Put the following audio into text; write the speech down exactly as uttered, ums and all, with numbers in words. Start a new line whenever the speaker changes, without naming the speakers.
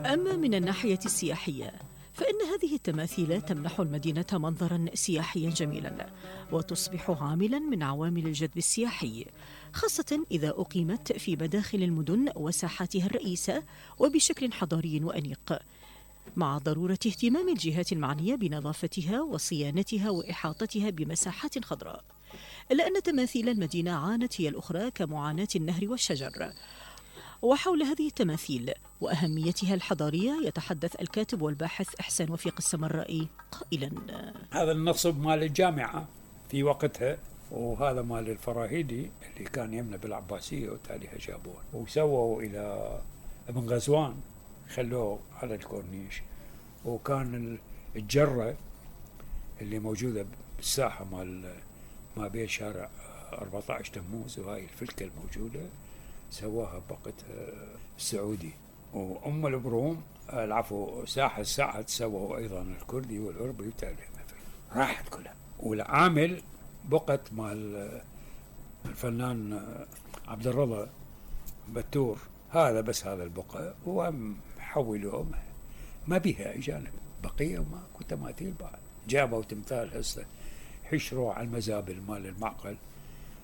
أما من الناحية السياحية فإن هذه التماثيل تمنح المدينة منظراً سياحياً جميلاً وتصبح عاملاً من عوامل الجذب السياحي، خاصة إذا أقيمت في مداخل المدن وساحاتها الرئيسة وبشكل حضاري وأنيق، مع ضرورة اهتمام الجهات المعنية بنظافتها وصيانتها وإحاطتها بمساحات خضراء. إلا أن تماثيل المدينة عانت هي الأخرى كمعاناة النهر والشجر. وحول هذه التماثيل وأهميتها الحضارية يتحدث الكاتب والباحث إحسان وفيق السمرائي قائلا:
هذا النصب مال الجامعة في وقتها، وهذا مال الفراهيدي اللي كان يمنى بالعباسية وتاليها جابوه وسووا إلى ابن غزوان خلوه على الكورنيش. وكان الجرة اللي موجودة بالساحة مال ما بين شارع أربعة عشر تموز وهاي الفلكة الموجودة سواها بوقتها السعودي. وأم البروم العفو ساحة السعد سووا أيضا الكردي والعربي وتاليها راحت كلها. والعامل بقت مال الفنان عبد الرضا بتور، هذا بس هذا البقعة وهم حولوهم ما بيها أجانب بقية وما كنت تماثيل بعد. جابوا تمثال هسه حشروا على المزابل مال المعقل